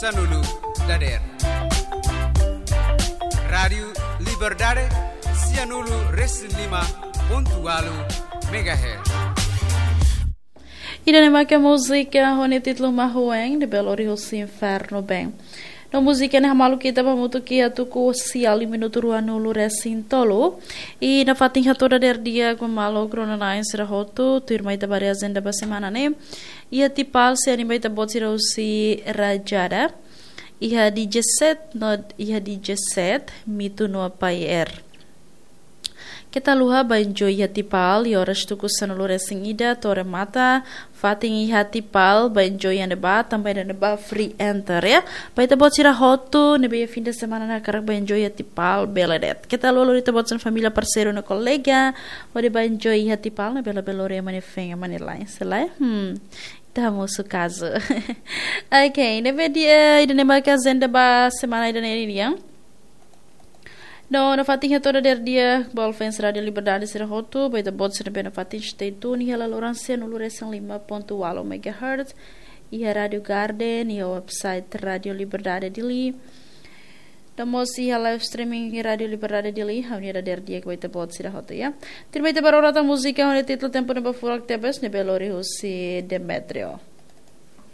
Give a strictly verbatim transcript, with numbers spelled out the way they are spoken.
Sanulu dader. Rádiu Liberdade, sianulu resin lima pontu walu megahertz. Ida-ne'e maka múzika ho nia títulu Mahueng, ne'ebé lori husi Inferno Ben. No múzika ne'e hamaluk ita ba hamutuk iha tuku sia liu minutu ruanulu resin tolu. I nafatin hato'o dader di'ak ba maluk rona-na'in sira hotu, tuirmai ita ba haree ajenda ba semana ne'e. Iha Tipal sei animai ita-boot sira husi Rajada. Iha D J set, no iha D J set, Mitu no Pai Air. Keta haluha ba enjoy iha Tipal, iha oras tuku sanulu resin ida to'o remata, fatin iha Tipal, ba enjoy iha ne'ebá, tanba iha ne'ebá free enter, ya. Ba ita-boot sira hotu, ne'ebé iha fim de semana ne'e hakarak ba enjoy iha Tipal, bele de'it. Keta haluha lori ita-boot sira-nia família, parseiru no kolega, hodi ba enjoy iha Tipal, ne'e bele bele lori ema nia feen, ema nia la'en, selae, hmm, ita hamosu kazu. Ok, ne'ebé di'ak, ida-ne'e maka ajenda ba semana ida-ne'e nian. No, nafatin hato'o dader di'ak ba fans Rádiu Liberdade sira hotu, ba ita-boot sira ne'ebé nafatin stay tune iha laloran sianulu resin lima pontu walu megahertz, iha Rádiu Garden, iha website Rádiu Liberdade Dili. No mós iha live streaming Rádiu Liberdade Dili, ha'u-nia dader di'ak ba ita-boot sira hotu, ya. Tuirmai ita ba rona tan múzika ho nia títulu Tempu Ne'ebé Furak Tebes, ne'ebé lori husi Demetrio.